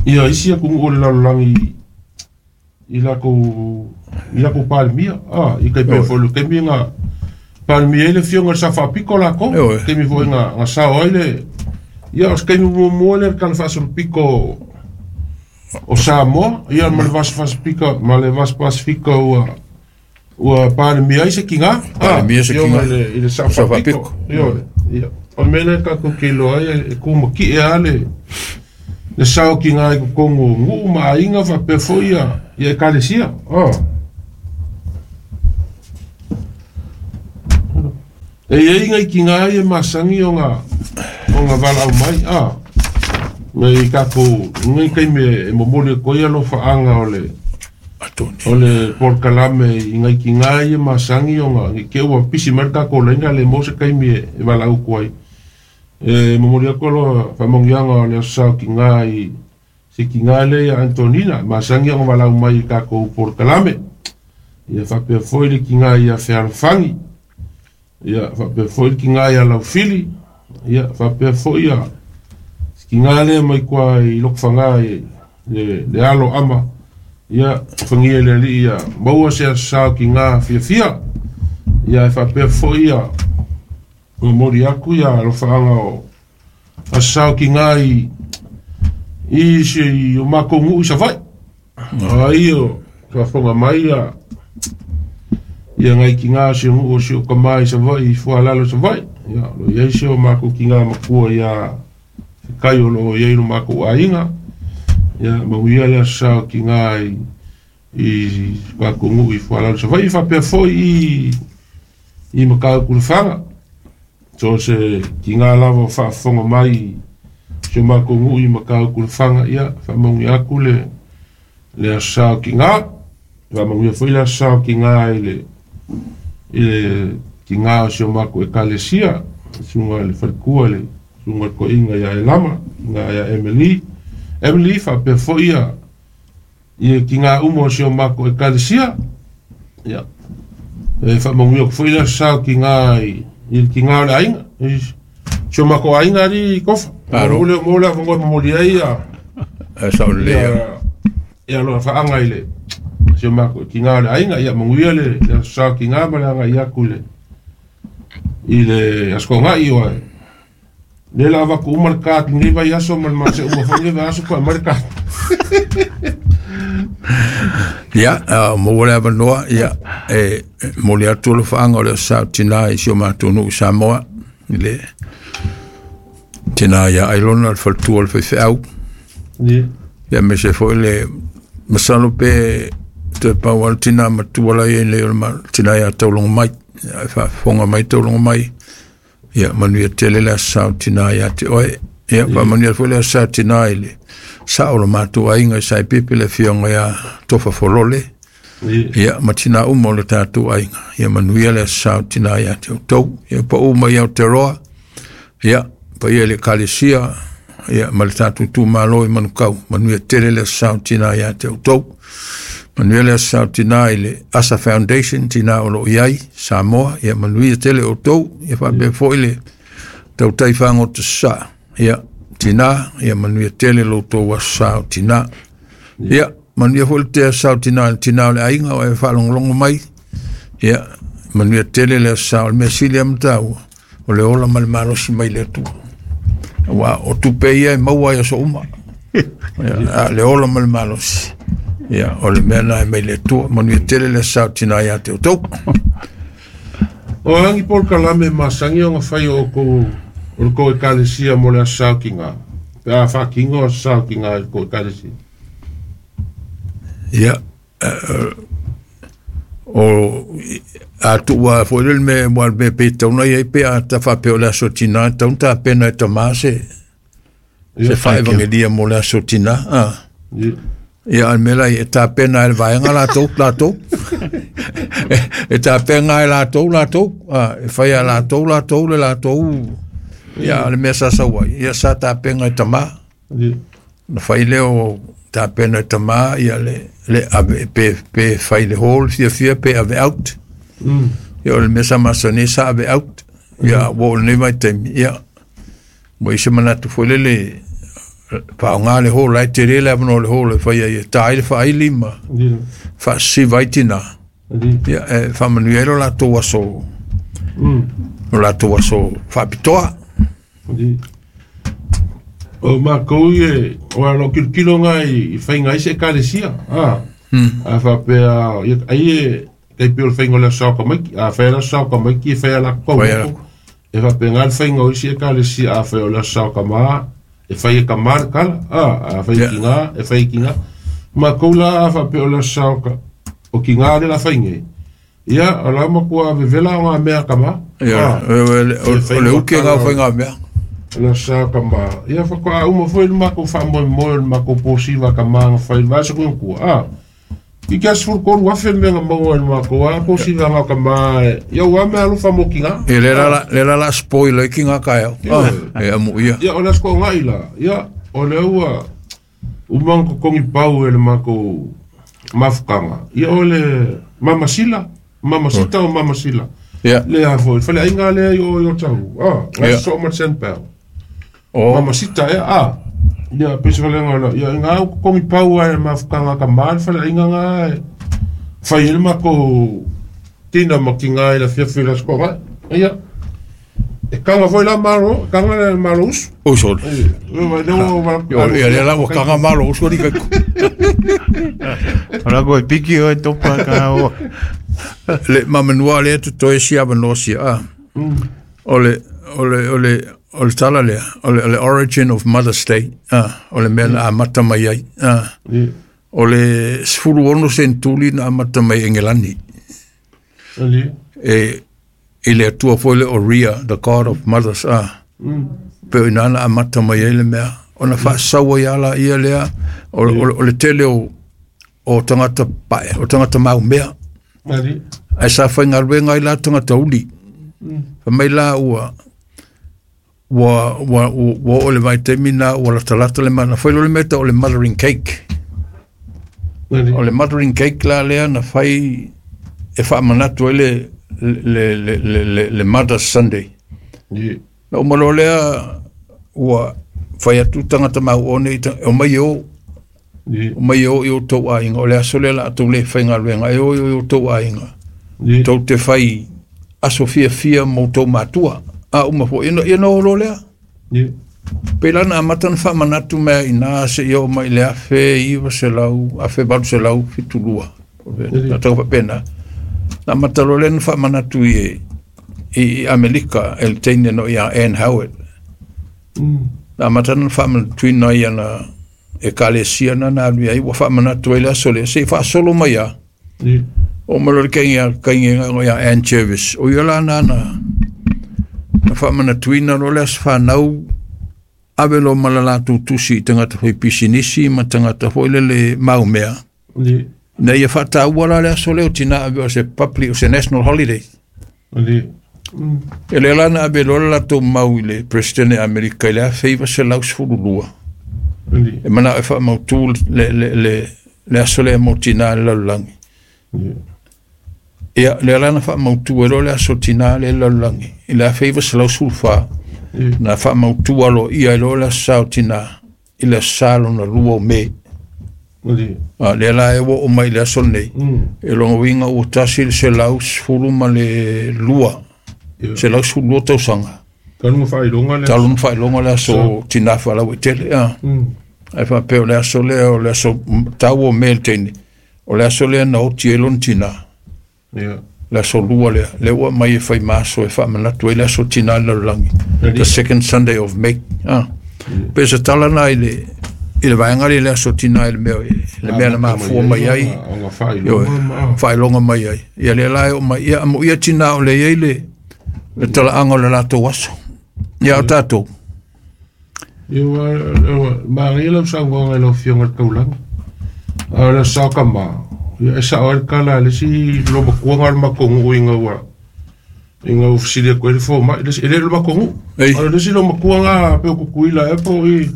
ia isi aku ngua le lalolangi i la ko palmia. Ah, i kai pe fo le kai mi nga palmia le fionga sa fa piko la ko. Kai mi fo nga nga sa oi le ia os kai mi mo le kan fa so piko o Samoa, ia ma le Pasifika, ma le Pasifika ua Palemia ai se kinga. Palemia se kinga. I le Safapiko. Ia, o mele ka ko ke loa e ku maki e ale le sao ki ngai ko kongo ngu ma inga fa pe foia ia e kalesia. Oh. E ia ngai ki ngai e masangi o nga vala au mai a. Ngai ka ko ngai kai me e momoli ko ia lo faanga o le o le porkalame i ngai ki ngai e masangi o nga ke ua pisi marka ko lenga le mo se kai me e vala au ko ai. E momoli ko lo famongianga o le sao ki ngai se ki ngai le Antonina masangi o vala au mai ka ko porkalame. Ia fa pe foi le ki ngai ia fealfangi. Ia fa pe foi ki ngai a laufili. Ia fa pe foi ia ki ngai le mai kwa i lokfanga le alo ama. Ia fangia le li ia maua se sao ki ngā fia fia. Ia fa pe foi ia mori aku ia lo faanga o a sao ki ngā i se o makongu i savai. Ai o ka fonga mai ia ia ngai ki ngā se ngu o se o kamai savai i fualalo savai. Ia lo ia se o mako ki ngā makua ia kai o lo ia i lo mako ainga. Ia mauia le sao ki ngā i makongu i fualalo savai. Fa pe foi i makau kulfanga. So se ki ngā lava fa fonga mai se makongu i makau kulfanga ia fa maungi aku le sao ki ngā. Fa maungi foi le sao ki ngā i le ki ngā o se mako e kalesia sunga le falkua le sunga ko inga ia e lama inga ia Emily fa pe foi ia ki ngā umo o se mako e kalesia ia e fa maungi foi le sao ki ngā i ki ngā o le ainga se mako ainga ri kofa mo mo le fongo mo li ia e sa le ia lo fa anga ile se mako ki ngā o le ainga ia maungi le sao ki ngā ma le anga ia kule i le askonga i oe le lava ku markat ni vai aso mal ma se uma foi vai aso ko markat ia mo le avanoa ia e mo le atu lo faanga o le sao tina i si o mātou Samoa le tina ia ailona le faltua le faifeau ia me se foi le masalo pe te pau al tina matua la ia le tina ia taulongo mai ia faafofoga mai taulongo mai ia manuia tele le sao tina ia te oe ia manuia foi le sao tina i le sao lo mātou aiga i Saipipi le fioga ia Tofa Folole ia ma tina uma o le tātou aiga ia manuia le sao tina ia te outou ia paʻu mai Aotearoa ia paia le kalesia ia ma le tātou tumālo i Manukau manuia tele le sao tina ia te outou manuia le sao tina i le Asa Foundation tina o lo iai Samoa ia manuia tele outou ia faapea foi le tautai fagota sa ia tina ia manuia tele lo outou aso sao tina ia manuia foi le tea sao tina le tina o le aiga o e faalogologo mai ia manuia tele le aso sao le mea sili a matau o le ola ma le malosi mai le Atua ua o tupe ia e maua ai aso uma ia le ola ma le malosi ia o le mea na e mai le Atua manuia tele le sao tina ia te outou. O angi por kalame masangi o nga whai o ko o ko e kalesia mo le asao ki ngā. Pe a whakinga o asao ki ngā ko e kalesia. Ia o a tua foi le me mo me pe tauna ia pe a ta fa pe o le aso tina tauna pena e tamase se fa evangelia mo le aso tina a. Ia al mela e ta pena e vaenga la tou e ta pena e la tou a e fai a la tou le la tou ia le mea sa saua ia sa ta pena e tama na fai leo ta pena e tama ia le ave pe fai le hall fia pe ave out ia le mea sa masane sa ave out ia wo le mai tem ia mo i se manatu foi le paonga le hall ai te rele avano le hall e fai ai tai le faili ma fa si vaitina ia e fa manuelo la tou aso o la tou aso faapitoa o makou e o alo kilokilo ngai i faiga ai se ekalesia a faapea ai e kai pe o le faiga o le aso ka maiki a fai ala sao ka maiki e fai ala kau E faapega le faiga o isi ekalesia afai o le aso sa o kamā e fai e kamā le kala afai e kigā e fai e kigā makou la a faapea o le aso sa o kigā le la faigē ia o la matua vevela o ngā mea kamā Ia, o le uki e ngā whai ngā mea. Le aso sa o kamā ia faatoa uma foi le makou faamoemoe o le makou posiva kamā ga fai le vaiaso kuakua i ke aso 13,000 le mea ga maua i le makou a posiva ga kamā ia ua mea alofa mo kigā E le la spoil ai ki ngā kaeo. E amu ia. Ia o le aso ko'oga'i la ia o le ua uma kokogi pau e le makou mafukaga ia o le mamasila mamasita o mamasila le a foi faleaiga lea i o i o tahu ga soo ma le sandpau mamasita ea ia pei se falega la ia ga u kokogi pau ai le mafukaga kamā le faleaiga ga e fai ai le makou tina ma kigā i le afiafi i le aso ko'oga'i ia e kaga foi la malo kaga le malo usu usu ia le la ua kaga malo usu ali kaiku o la koe piki oe topa ka o le mamanua le atu toe sia avanoa sia o le o le o le o le tala lea o le origin of Mother's Day o le mea na amata mai ai o le 16 sentuli na amata mai Engelani e i le atua foi le o Rhea, the god of mothers pe o ina na amata mai ai le mea ona faasaua ia la ia lea o le tele o tagata pae o tagata maumea ae sa faigaluega ai la tagata uli famai la ua ua ua oo le vaitaimi na ua latalata le mana fai lo le mea o le mothering cake o le mothering cake la lea na fai e faamanatu ai le Mother's Sunday. Na uma loa lea ua fai atu tagata mauone o mai e o o mai e o i o tou aiga o le aso lea la tou le faigaluega e o i o tou aiga tou te fai aso fiafia mo tou matua a uma foi ia na olo lea pe la na amata na faamanatu mea ina seia oo mai i le 1900 1872 na taga faapena na amata loa lea na faamanatu i Amerika e le teine no ia Ann Howard na amata na faamanatuina ia na ekalesia na na alu ai ua faamanatu ai le aso lea se'i faasolo mai a o ma loa le kaiga ia Ann Jervis o ia la na na faamanatuina loa le aso fanau ave loa ma le latou tusi i tagata foi pisinisi ma tagata foi lele maumea na ia faataua la le aso lea o tinā ave o se public o se national holiday e lea la na ave loa le latou mau i le president e Amerika i le 1912 e manao e faamautū le aso lea mo tinā le lalolagi ia lea la na faamautū e loa le aso tinā le lalolagi i le 1914 na faamautū aloaia e loa le aso sa o tinā i le aso sa lona lua o Me lea la e ua oo mai i le aso lenei e loga uiga ua tasi le 112 112 tausaga talu na faailoga le aso tinā faalauaitele ae faapea o le aso lea o le aso tau o Me le teine o le aso lea na oti ai lona tinā le aso lua lea lea ua aumai e fai ma aso e faamanatu ai le aso tinā le lalolagi the second Sunday of May pe se tala na i le vaega le aso tinā i le mea na mafua mai ai faailoga mai ai ia lea la e oo mai ia amo ia tinā o le iai le talaaga o le latou aso ia o tatou ia manaia lau saunoaga i lau afioga i le taulaga a o le aso sa o kamā ia e sao ai le kala a le isi lomatuaga o le matou nuu ina ua fesili atu ai le fomai e le o le matou nuu o le isi lomatuaga pe o Tutuila ea po o i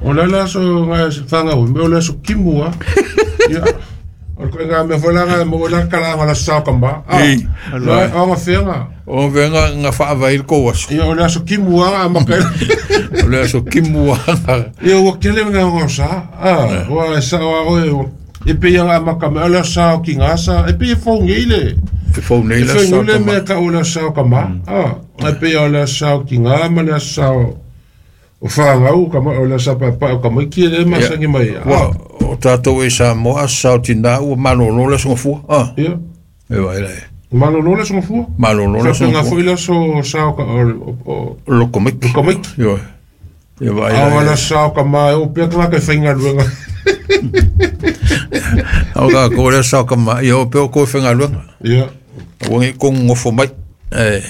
o le ale aso ga fanau me o le aso kimu a ia o le koiga mea foi la ga maua ai la talaaga o le aso sa o kamā o aga feaga o feaga ga faavaai le kou aso ia o le aso kimu a ga amata o le aso kimu a ia ua tele mea o sa ua e sao a oe e pei aga amata mai o le aso sa o kigā sa e pei e fou nei le e fou nei le aso sa o le mea tau o le aso sa o kamā e pei o le aso sa o kigā ma le aso sa o fanau kama o le aso sa paepae o kamaiti e le masani mai o tatou e Samoa aso sa o tinā ua malōlō le aso gafua ia e vaai la e Malolo le songofua. Malolo le Faapena foi le aso sao ka o Lokomaiki. Lokomaiki. Ioe. Ia vaai A o la le sao ka ma e o pea tagata e faigaluega. Au ka ko le sao ka ma ia o pea o ko e faigaluega. Ia. Ua ngi ko ngofo mai. E